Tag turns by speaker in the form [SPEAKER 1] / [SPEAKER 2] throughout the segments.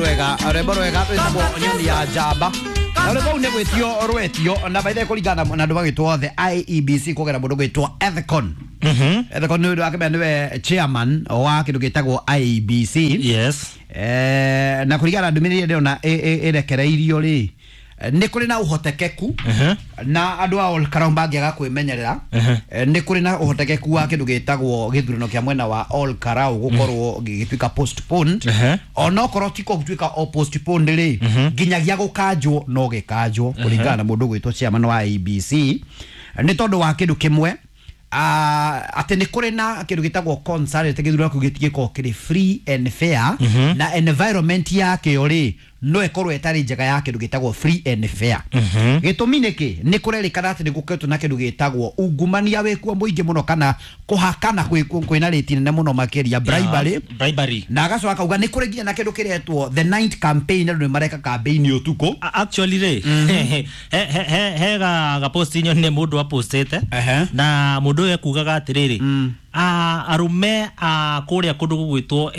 [SPEAKER 1] Rwega rwĩmbo rwega rwĩtagwo Nyoni ya Njamba na rwĩmbo rũu nĩ gwĩtio rwetio na baithe kũringana na andũ magĩtwo the IEBC kũgera mũndũ gwĩtwo Ethicon. Ethicon nĩ ũndũ wakĩmenya nĩwe chairman wa kĩndũ gĩtagwo IEBC.
[SPEAKER 2] Yes.
[SPEAKER 1] Na kũringana na ndũmĩrĩri ĩrĩa ndĩrona ĩrekereirio rĩ, nĩ kũrĩ na ũhotekeku na andũ a Ol Kalou mangĩaga kwĩmenyerera, nĩ kũrĩ na ũhotekeku wa kĩndũ gĩtagwo gĩthurano kĩa mwena wa Ol Kalou gũkorwo gĩgĩtuĩka postponed. Onokorwo ti gũtuĩka o postponed rĩ, nginyagia gũkanjwo no gĩkanjwo kũringana na mũndũ ũgwĩtwo chairman wa IEBC, nĩ tondũ wa kĩndũ kĩmwe, atĩ nĩ kũrĩ na kĩndũ gĩtagwo concern atĩ gĩthurano kĩu gĩtigĩkorwo kĩrĩ free and fair, na environment yakĩo rĩ no ĩkorwo ĩtarĩ njega ya kĩndũ gĩtagwo free and fair. Gĩtũmi nĩkĩ? Nĩ kũrerĩkana atĩ nĩ gũkoretwo na kĩndũ gĩtagwo ungumania wĩkuo mũingĩ mũno, kana kũhakana kwĩna rĩti nene mũno makĩria, bribery.
[SPEAKER 2] Yeah, bribery.
[SPEAKER 1] Na agacoka akauga nĩ kũrĩ nginya na kĩndũ kĩretwo the night campaign, andũ nĩ mareka campaign ũtukũ.
[SPEAKER 2] Actually rĩ, he ga post nyonire mũndũ apostĩte na mũndũ ũyũ ekugaga atĩrĩrĩ, arũme a kũrĩa kũndũ gũgwĩtwo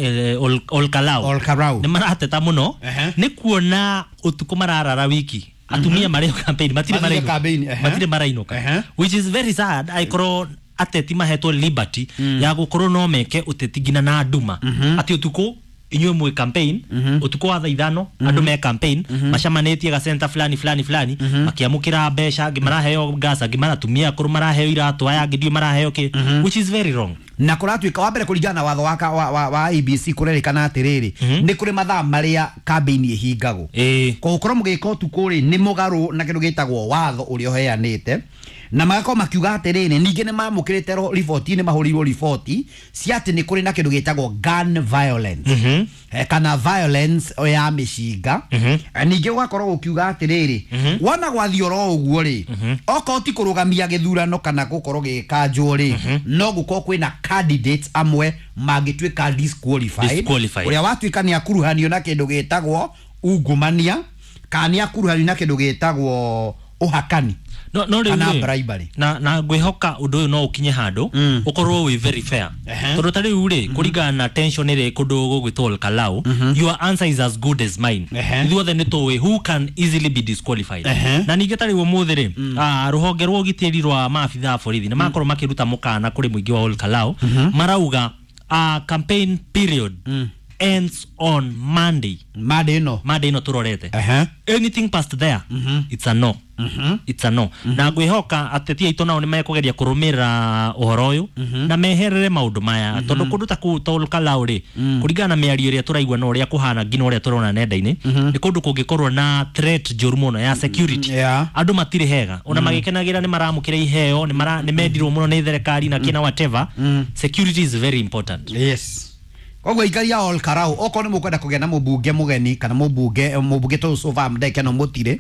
[SPEAKER 2] Ol Kalou
[SPEAKER 1] Ol Kalou.
[SPEAKER 2] nĩ marateta mũno nĩ kuona ũtukũ mararara wiki, atumia marĩ campaign matirĩ
[SPEAKER 1] Matirĩ
[SPEAKER 2] marainũka.
[SPEAKER 1] Campaign,
[SPEAKER 2] Matirĩ marainũka, which is very sad aikorwo ateti mahetwo liberty ya gũkorwo no meke ũteti nginya na nduma, atĩ ũtukũ inyuĩ mwĩ campaign, ũtukũ wa thaa 5 andũ me campaign macamanĩtie ga center fulani fulani fulani makiamũkĩra mbeca, angĩ maraheo gas, angĩ maratumia akũrũ maraheo iratũ, aya angĩ ndiũ maraheo kĩ, which is very wrong.
[SPEAKER 1] Na kũratuĩka wa mbere kũringana na watho wa IEBC, kũrerĩkana atĩrĩrĩ, nĩ kũrĩ mathaa marĩa campaign ĩhingagwo. Gũkorwo mũgĩka ũtukũ rĩ, nĩ mũgarũ na kĩndũ gĩtagwo watho ũrĩa ũheanĩte, na magakorwo makiuga atĩrĩrĩ, ningĩ nĩ mamũkĩrĩte riboti, nĩ mahũrĩirwo riboti cia atĩ nĩ kũrĩ na kĩndũ gĩtagwo gun violence, kana violence ya mĩcinga. Ningĩ ũgakorwo ũkiuga atĩrĩrĩ, wona gwathiĩ oro ũguo rĩ, okorwo ti kũrũgamia gĩthurano kana gũkorwo gĩgĩkanjwo rĩ, no gũkorwo kwĩna candidates amwe mangĩtuĩka disqualified.
[SPEAKER 2] Disqualified.
[SPEAKER 1] Ũrĩa watuĩka nĩ akuruhanio na kĩndũ gĩtagwo ungumania kana nĩ akuruhanio na kĩndũ gĩtagwo ũhakani
[SPEAKER 2] no rĩu
[SPEAKER 1] kana
[SPEAKER 2] rĩ,
[SPEAKER 1] bribery.
[SPEAKER 2] Na ngwĩhoka ũndũ ũyũ no ũkinye handũ ũkorwo wĩ very fair, tondũ ta rĩu rĩ, kũringana na tension ĩrĩ kũndũ gũgwĩtwo Ol Kalou, your answer is as good as mine. Ithuothe nĩ tũĩ who can easily be disqualified. Na ningĩ ta rĩu ũmũthĩ rĩ, rũhonge rwa ũgitĩri rwa maabitha a borithi nĩ makorwo makĩruta mũkana kũrĩ mũingĩ wa Ol Kalou, marauga campaign period ends on Monday.
[SPEAKER 1] Mande ĩno.
[SPEAKER 2] Monday ĩno tũrorete. Anything past there, it's a no, it's a no. Na ngwĩhoka ateti aitũ nao nĩ mekũgeria kũrũmĩrĩra ũhoro ũyũ na meherere maũndũ maya, tondũ kũndũ ta kũu ta Ol Kalou rĩ, kũringana na mĩario ĩrĩa tũraigua na ũrĩa kũhana nginya ũrĩa tũrona nenda-inĩ, nĩ kũndũ kũngĩkorwo na threat njũru mũno ya security. Andũ matirĩ hega ona magĩkenagĩra nĩ maramũkĩra iheo, nĩ mendirwo mũno nĩ thirikari na kĩna whatever. Security is very important.
[SPEAKER 1] Yes, koguo ikaria Ol Kalou, okorwo nĩ mũkwenda kũgĩa na mũmbunge mũgeni kana mũmbunge tũ sova ndeke no mũtirĩ,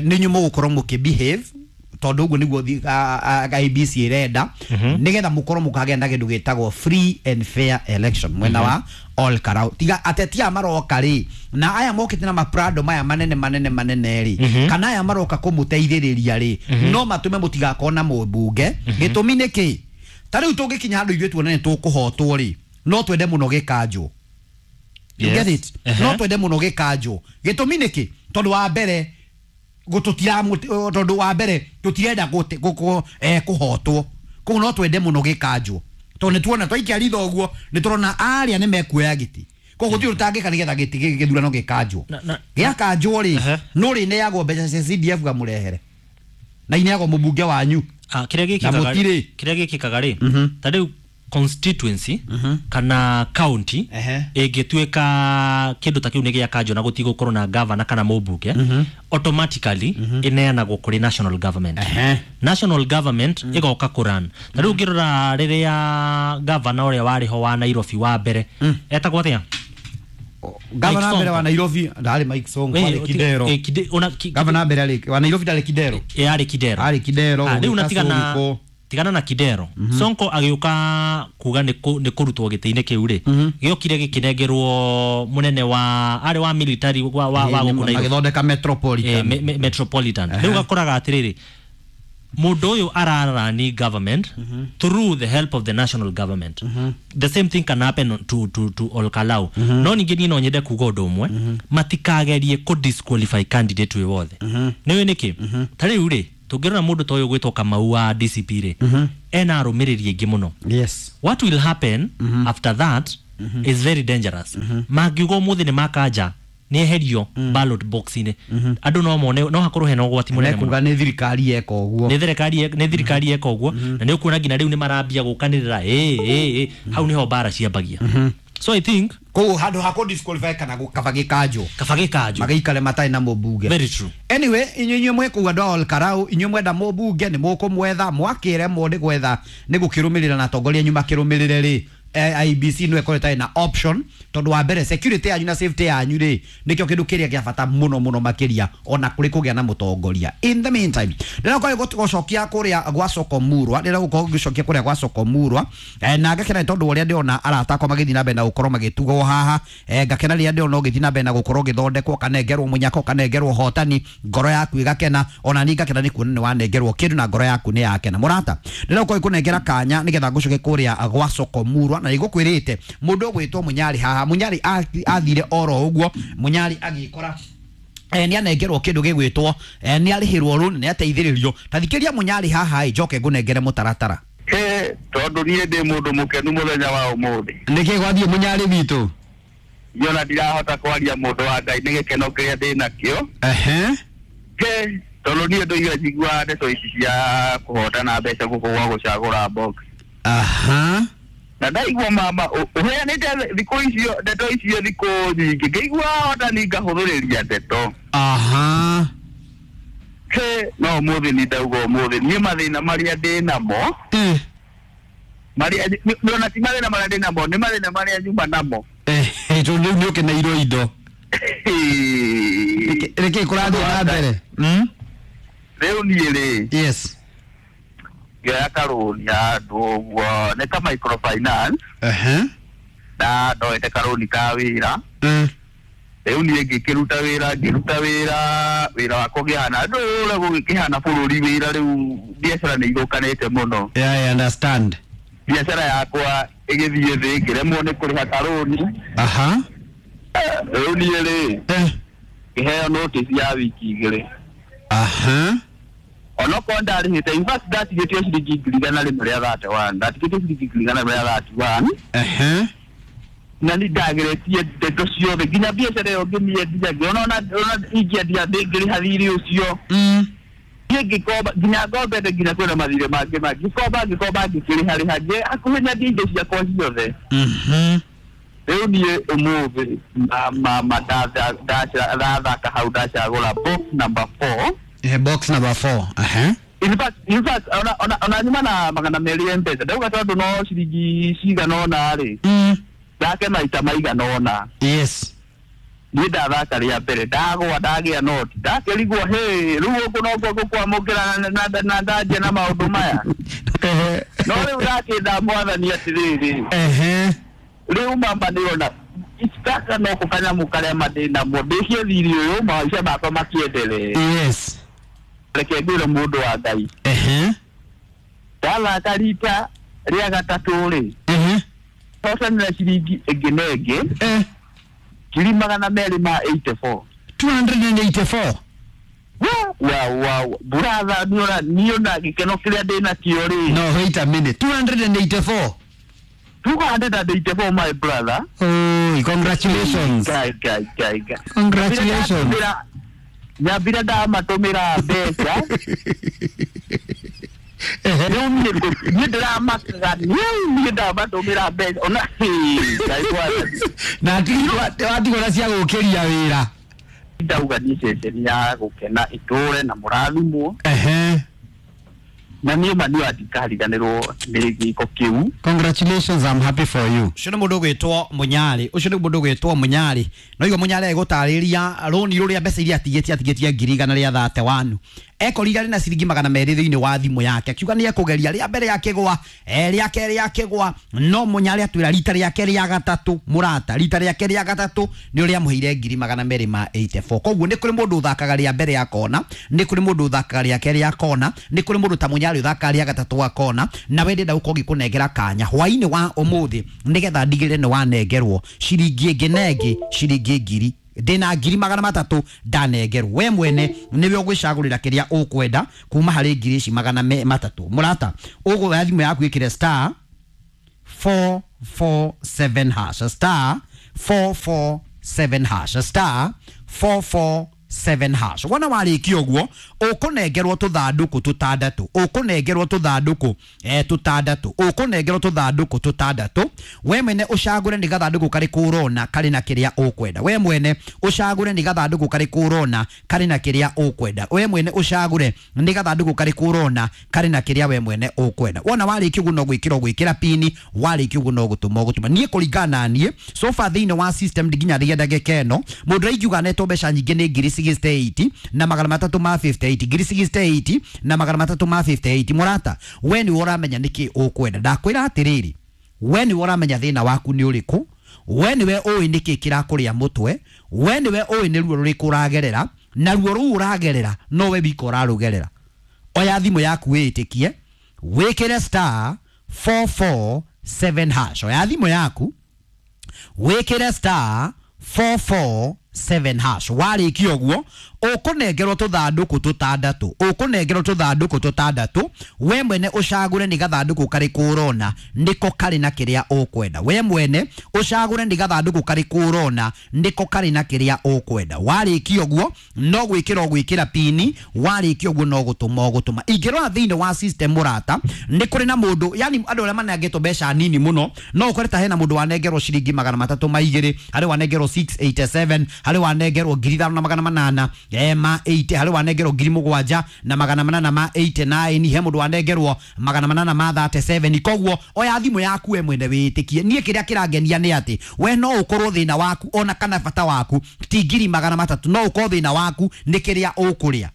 [SPEAKER 1] nĩ inyuĩ mũgũkorwo mũkĩ behave, tondũ ũguo nĩguo IEBC ĩrenda, nĩgetha mũkorwo mũkagĩa na kĩndũ gĩtagwo free and fair election mwena wa Ol Kalou. Tiga ateti aya maroka rĩ, na aya mokĩte na maprado maya manene manene manene rĩ, kana aya maroka kũmũteithĩrĩria rĩ, no matũme mũtigakorwo na mũmbunge. Gĩtũmi nĩ kĩ? Ta rĩu tũngĩkinya handũ ithuĩ tuone nĩ tũkũhotwo rĩ, no twende mũno gĩkanjwo. You get it? No twende mũno gĩkanjwo. Gĩtũmi nĩ kĩ? Tondũ wa mbere tondũ wa mbere tũtirenda kũhotwo, koguo no twende mũno gĩkanjwo, tondũ nĩ tuona twaikia ritho ũguo nĩ tũrona arĩa nĩ mekuoya gĩtĩ, koguo gũtirĩ ũtangĩka nĩgetha gĩtĩ gĩthurano gĩkanjwo. Gĩakanjwo rĩ, no rĩneagwo mbeca cia CDF gamũrehere na ineagwo mũmbunge wanyu.
[SPEAKER 2] Kĩrĩa
[SPEAKER 1] Na
[SPEAKER 2] gĩkĩkaga
[SPEAKER 1] mũtirĩ.
[SPEAKER 2] Kĩrĩa gĩkĩkaga rĩ, ta rĩu constituency kana county ĩngĩtuĩka kĩndũ ta kĩu nĩ gĩakanjwo na gũtigũkorwo na governor kana mũmbunge, automatically ĩneanagwo kũrĩ national government. National government ĩgoka kũran. Ta rĩu ũngĩrora rĩrĩa governor ũrĩa warĩ ho wa Nairobi wa mbere etagwo atĩa?
[SPEAKER 1] Gavana
[SPEAKER 2] Mike
[SPEAKER 1] mbere wa
[SPEAKER 2] Sonko.
[SPEAKER 1] Nairobi ndarĩ Mike Sonko, arĩ Kidero. Gavana mbere arĩ wa Nairobi ndarĩ Kidero.
[SPEAKER 2] Yarĩ Kidero.
[SPEAKER 1] Arĩ Kidero.
[SPEAKER 2] Rĩu
[SPEAKER 1] gũgĩũka
[SPEAKER 2] na tigana
[SPEAKER 1] Sonko.
[SPEAKER 2] Tigana na Kidero, Sonko agĩũka kuga nĩ kũrutwo gĩtĩ-inĩ kĩu rĩ, gĩokire gĩkĩnengerwo mũnene wa arĩ wa military wa gũkũ Nairobi.
[SPEAKER 1] Magĩthondeka metropolitan.
[SPEAKER 2] Metropolitan. Rĩu gakoraga atĩrĩrĩ, Mũndũ ũyũ ararani government through the help of the national government. The same thing can happen to Olkalau. No ningĩ niĩ no nyende kuga ũndũ ũmwe, matikagerie kũ disqualify candidate wĩ wothe. Nĩũĩ nĩkĩ? Ta rĩu rĩ, tũngĩrora mũndũ ta ũyũ gwĩtwo Kamau wa DCP rĩ, ena arũmĩrĩri aingĩ mũno.
[SPEAKER 1] Yes.
[SPEAKER 2] What will happen after that is very dangerous. Mangiuga ũmũthĩ nĩ makanja nĩ eherio ballot box-inĩ, andũ no mone no hakorwo hena ũgwati mũnene mũno.
[SPEAKER 1] Mekuga nĩ thirikari yeka ũguo.
[SPEAKER 2] Nĩ thirikari yeka ũguo, na nĩ ũkuona nginya rĩu nĩ marambia gũkanĩrĩra ĩ ĩ ĩ, hau nĩho mbara ciambagia. So I think
[SPEAKER 1] Koguo handũ ha kũ disqualify kana kaba gĩkanjwo,
[SPEAKER 2] kaba gĩkanjwo.
[SPEAKER 1] Magĩikare matarĩ na mũmbunge.
[SPEAKER 2] Very true.
[SPEAKER 1] Anyway, inyuĩ mwĩ kũu andũ a Olkarau, inyuĩ mwenda mũmbunge nĩ mũkũmwetha, mwakĩremwo nĩ gwetha nĩ gũkĩrũmĩrĩra na atongoria anyu makĩrũmĩrĩre rĩ, IEBC no ĩkorwo ĩtarĩ na option, tondũ wa mbere security yanyu na safety yanyu rĩ, nĩkĩo kĩndũ kĩrĩa kĩa bata mũno mũno makĩria ona kũrĩ kũgĩa na mũtongoria. In the meantime, ndĩrakorwo gũcokia kũrĩa gwa Soko Murwa, ndĩra gũkorwo ngĩcokia kũrĩa gwa Soko Murwa, na ngakena nĩ tondũ ũrĩa ndĩrona arata akwa magĩthiĩ na mbere na gũkorwo magĩtugwo haha, ngakena rĩrĩa ndĩrona ũgĩthiĩ na mbere na gũkorwo ũgĩthondekwo, ũkanengerwo mũnyaka, ũkanengerwo hotani, ngoro yaku ĩgakena, ona niĩ ngakena nĩ kuona nĩ wanengerwo kĩndũ na ngoro yaku nĩ yakena. Mũrata, ndĩra gũkorwo ngĩkũnengera kanya nĩgetha ngũcoke kũrĩa gwa Soko Murwa, na nĩngũkwĩrĩte mũndũ ũgwĩtwo Mũnyarĩ haha. Mũnyarĩ athire oro ũguo, Mũnyarĩ agĩkora nĩ anengerwo kĩndũ gĩgwĩtwo, nĩ arĩhĩrwo rũni, nĩ ateithĩrĩrio. Ta thikĩria Mũnyarĩ haha ĩ, njoke ngũnengere mũtaratara.
[SPEAKER 3] He tondũ niĩ ndĩ mũndũ mũkenu mũthenya wa ũmũthĩ.
[SPEAKER 1] Nĩkĩ gwathiĩ, Mũnyarĩ witũ?
[SPEAKER 3] Niĩ ona ndirahota kwaria, mũndũ wa Ngai, nĩ gĩkeno kĩrĩa ndĩ nakĩo. He tondũ niĩ ndũire njiguaga ndeto ici cia kũhotana mbeca gũkũ gwa gũcagũra box, na ndaigua mama ũheanĩte thikũ icio ndeto icio thikũ nyingĩ, ngĩigua hotani ngahũthĩrĩria ndeto. He no ũmũthĩ nĩ ndauga ũmũthĩ niĩ mathĩna marĩa ndĩ namo, marĩa ona ti mathĩna marĩa ndĩ namo, nĩ mathĩna marĩa nyuma namo.
[SPEAKER 1] Tondũ rĩu nĩ ũkeneirwo indo. Nĩkĩ kũrathiĩ na mbere?
[SPEAKER 3] Rĩu niĩ rĩ, ngĩoya karũni handũ ũguo nĩ ka microfinance, na ndoete karũni ka wĩra. Rĩu niĩ ngĩkĩruta wĩra, ngĩruta wĩra, wĩra wakwa ũkĩhana ndũra gũgĩkĩhana bũrũri wĩra, rĩu biacara nĩ ithũkanĩte mũno.
[SPEAKER 1] Yeah, I understand.
[SPEAKER 3] Biacara yakwa ĩgĩthiĩ thĩ, ngĩremwo nĩ kũrĩha karũni. Rĩu niĩ rĩ, ngĩheo notice ya wiki 2. Onokorwo ndarĩhĩte, in fact ndatigĩtio ciringi 131,000, ndatigĩtio ciringi 131,000. Na nĩ ndageretie ndeto ciothe nginya biacara ĩyo ngĩmĩendia, ngĩona ona ingĩendia ndĩngĩrĩha thirĩ ũcio. Niĩ ngĩkomba nginya ngombete, nginya kwĩna mathirĩ mangĩ ma ngĩkomba, ngĩkomba, ngĩkĩrĩha rĩha, hakuhĩ nyendie indo ciakwa ciothe. Rĩu niĩ ũmũthĩ mama ndathaka hau, ndacagũra box number 4.
[SPEAKER 1] Box number 4.
[SPEAKER 3] In fact ona nyuma na 200 ya mpesa, ndauga tondũ no ciringi cigana ũna rĩ, thake maita maigana ũna. Niĩ ndathaka rĩa mbere, ndagwa, ndagĩa noti, ndakĩrigwo hĩ rĩu gũkũ nokuo ngũkwamũkĩra na ndanjia na maũndũ maya, no rĩu ndakĩnda mwathani atĩrĩrĩ, rĩu mama nĩona gaka noko kanyamũ karĩa ma ndĩ namo ndĩcie thirĩ ũyũ, maica makwa makĩendelee. Reke ngwĩre, mũndũ wa Ngai, ndathaka rita rĩa gatatũ rĩ, hotanĩra ciringi ĩngĩ na ĩngĩ 284,000.
[SPEAKER 1] 284.
[SPEAKER 3] Wa buratha, niona niona gĩkeno kĩrĩa ndĩ nakĩo rĩ.
[SPEAKER 1] No, wait a minute. 284.
[SPEAKER 3] 284, my brother.
[SPEAKER 1] Oh, congratulations.
[SPEAKER 3] Guy, guy, guy, guy.
[SPEAKER 1] Congratulations.
[SPEAKER 3] Nyambire ndamatũmĩra mbeca, rĩu niĩ ndĩramakaga niĩ ndamatũmĩra mbeca ona Ngai mwathani.
[SPEAKER 1] Na watigwo na cia gũkĩria wĩra.
[SPEAKER 3] Ndauga niĩ ceceni ya gũkena ĩtũre na mũrathimwo. Na niĩ ma niĩ ndikariganĩrwo nĩ gĩko kĩu.
[SPEAKER 4] Congratulations, I'm happy for you.
[SPEAKER 1] Ũcio nĩ mũndũ ũgwĩtwo Mũnyarĩ, ũcio nĩ mũndũ ũgwĩtwo Mũnyarĩ. No igua Mũnyarĩ agũtarĩria rũni rũrĩa mbeca iria atigĩtie 131,000 ekorire arĩ na ciringi 200 thĩinĩ wa thimũ yake, akiuga nĩ ekũgeria rĩa mbere akĩgwa, rĩa kerĩ akĩgwa, no Mũnyarĩ atwĩra rita rĩake rĩa gatatũ, mũrata, rita rĩake rĩa gatatũ nĩ ũrĩa amũheire 284,000. Koguo nĩ kũrĩ mũndũ ũthakaga rĩa mbere akona, nĩ kũrĩ mũndũ ũthakaga rĩa kerĩ akona, nĩ kũrĩ mũndũ ta Mũnyarĩ ũthakaga rĩa gatatũ akona, na we ndĩrenda gũkorwo ngĩkũnengera kanya hwainĩ wa ũmũthĩ nĩgetha ndigĩrĩre nĩ wanengerwo ciringi ĩngĩ na ĩngĩ, ciringi ngiri ndĩna 300,000 ndanengerwo. We mwene nĩwe ũgwĩcagũrĩra kĩrĩa ũkwenda kuma harĩ ngiri ici 300. Mũrata, ũgũoya thimũ yaku ĩkĩre star 447 hash, star 447 hash, star 447 hash. Wona warĩkia ũguo ũkũnengerwo tũthandũkũ tũtandatũ, ũkũnengerwo tũthandũkũ tũtandatũ, ũkũnengerwo tũthandũkũ tũtandatũ. We mwene ũcagũre nĩ gathandũkũ karĩkũ ũrona karĩ na kĩrĩa ũkwenda. We mwene ũcagũre nĩ gathandũkũ karĩkũ ũrona karĩ na kĩrĩa ũkwenda. We mwene ũcagũre nĩ gathandũkũ karĩkũ ũrona karĩ na kĩrĩa we mwene ũkwenda. Wona warĩkia ũguo no gwĩkĩra ũgwĩkĩra pini, warĩkia ũguo no gũtũma ũgũtũma. Niĩ kũringana na niĩ so far thĩinĩ wa system nginya rĩrĩa ndagĩka ĩno mũndũ ũrĩa anetwo mbeca nyingĩ nĩ 68 na 358, 68 na 358. Mũrata, we nĩwe ũramenya nĩkĩ ũkwenda. Ndakwĩra atĩrĩrĩ, we nĩwe ũramenya thĩna waku nĩ ũrĩkũ, we nĩwe ũĩ nĩkĩ kĩrakũrĩa mũtwe, we nĩwe ũĩ nĩ ruo rũrĩkũ ũragerera, na ruo rũu ũragerera no we wika ũrarũgerera. Oya thimũ yaku wĩĩtĩkie, wĩkĩre star 447 hash. Oya thimũ yaku wĩkĩre star 447 hash. Warĩkia ũguo ũkũnengerwo tũthandũkũ tũtandatũ, ũkũnengerwo tũthandũkũ tũtandatũ. We mwene ũcagũre nĩ gathandũkũ karĩkũ ũrona nĩko karĩ na kĩrĩa ũkwenda. We mwene ũcagũre nĩ gathandũkũ karĩkũ ũrona nĩko karĩ na kĩrĩa ũkwenda. Warĩkia ũguo no gwĩkĩra ũgwĩkĩra pini, warĩkia ũguo no gũtũma ũgũtũma. Ingĩrora thĩinĩ wa system mũrata, nĩ kũrĩ na mũndũ, yani andũ arĩa manengetwo mbeca nini mũno, no ũkore ta hena mũndũ wanengerwo ciringi 302, harĩ wanengerwo 687, harĩ wanengerwo 5800 ma 80, harĩ wanengerwo 7889, he mũndũ wanengerwo 837. Koguo oya thimũ yaku we mwene wĩtĩkie. Niĩ kĩrĩa kĩrangenia nĩ atĩ we no ũkorwo thĩna waku ona kana bata waku ti 300,000, no ũkorwo thĩna waku nĩ kĩrĩa ũkũrĩa.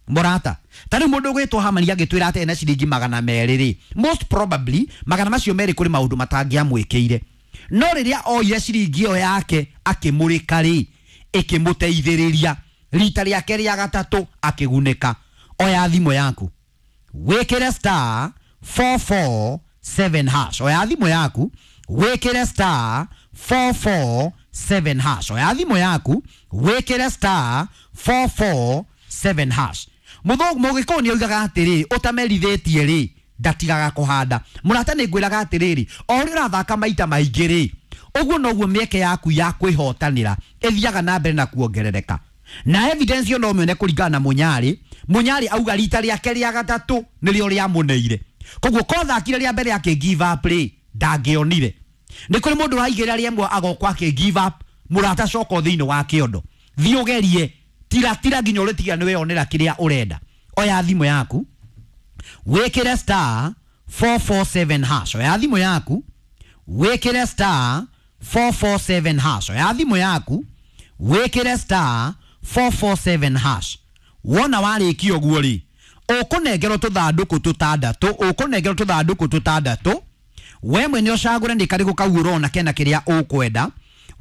[SPEAKER 1] Mũrata, ta rĩu mũndũ ũgwĩtwo Hamani agĩtwĩra atĩ ena ciringi 200 rĩ, most probably magana macio merĩ kũrĩ maũndũ matangĩamwĩkĩire, no rĩrĩa oire ciringi ĩyo yake akĩmũrĩka rĩ, ĩkĩmũteithĩrĩria rita rĩake rĩa gatatũ akĩgunĩka. Oya thimũ yaku wĩkĩre star 447 hash. Oya thimũ yaku wĩkĩre star 447 hash. Oya thimũ yaku wĩkĩre star 447 hash. Mũgĩkũyũ nĩ oigaga atĩrĩ, ũtamerithĩtie rĩ ndatigaga kũhanda. Mũrata, nĩ ngwĩraga atĩrĩrĩ, o ũrĩa ũrathaka maita maingĩ rĩ, ũguo noguo mĩeke yaku ya kwĩhotanĩra ĩthiaga na mbere na kuongerereka. Na evidence yo no mĩone kũringana na Mũnyarĩ. Mũnyarĩ auga rita rĩake rĩa gatatũ nĩrĩo rĩamũneire. Koguo kothakire rĩa mbere akĩ give up rĩ, ndangĩonire. Nĩ kũrĩ mũndũ ũraigĩrĩra rĩmwe agokwo akĩ give up. Mũrata, coka thĩinĩ wa kĩondo, thiĩ ũgerie, tiratira nginya ũrĩtiga nĩ weyonera kĩrĩa ũrenda. Oya thimũ yaku wĩkĩre star 447 hash. Oya thimũ yaku wĩkĩre star 447 hash. Oya thimũ yaku wĩkĩre star 447 hash. Wona warĩkia ũguo rĩ, ũkũnengerwo tũthandũkũ tũtandatũ, ũkũnengerwo tũthandũkũ tũtandatũ. We mwene ũcagũre nĩ karĩkũ kau ũrona kena kĩrĩa ũkwenda.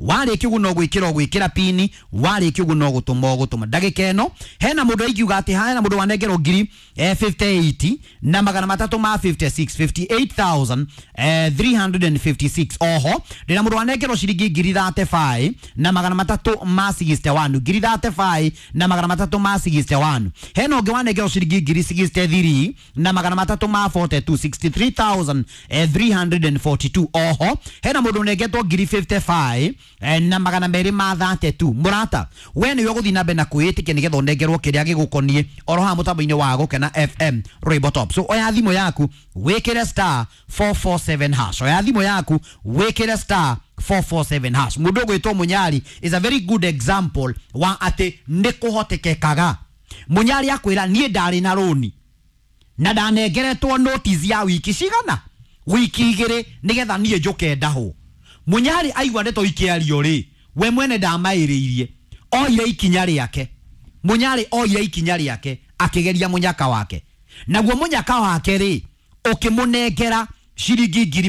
[SPEAKER 1] Warĩkia ũguo no gwĩkĩra ũgwĩkĩra pini, warĩkia ũguo no gũtũma ũgũtũma. Ndagĩka ĩno hena mũndũ aingiuga atĩ hena mũndũ wanengerwo ngiri 58 na 356, 58,356. Oho ndĩna mũndũ wanengerwo ciringi 35 na 361, 35 na 361. Hena ũngĩ wanengerwo ciringi 63 na 342, 63,342. Oho hena mũndũ ũnengetwo 55 na 232. Mũrata, we nĩwe ũgũthiĩ na mbere na kwĩĩtĩkia nĩgetha ũnengerwo kĩrĩa gĩgũkoniĩ oro haha mũtambo-inĩ wa Gũkena FM Rainbow Top. So oya thimũ yaku wĩkĩre star 447 hash. Oya thimũ yaku wĩkĩre star 447 hash. Mũndũ ũgwĩtwo Mũnyari is a very good example wa atĩ nĩ kũhotekekaga. Mũnyari akwĩra niĩ ndarĩ na rũni, Na ndanengeretwo notice ya wiki cigana, wiki 2, nigetha niĩ njũke ndahwo. Munyari aigua ndeto ikĩario rĩ, we mwene ndamaĩrĩirie, oire ikinya rĩake. Munyari oire ikinya rĩake, akĩgeria mũnyaka wake, naguo mũnyaka wake rĩ, ũkĩmũnengera ciringi ngiri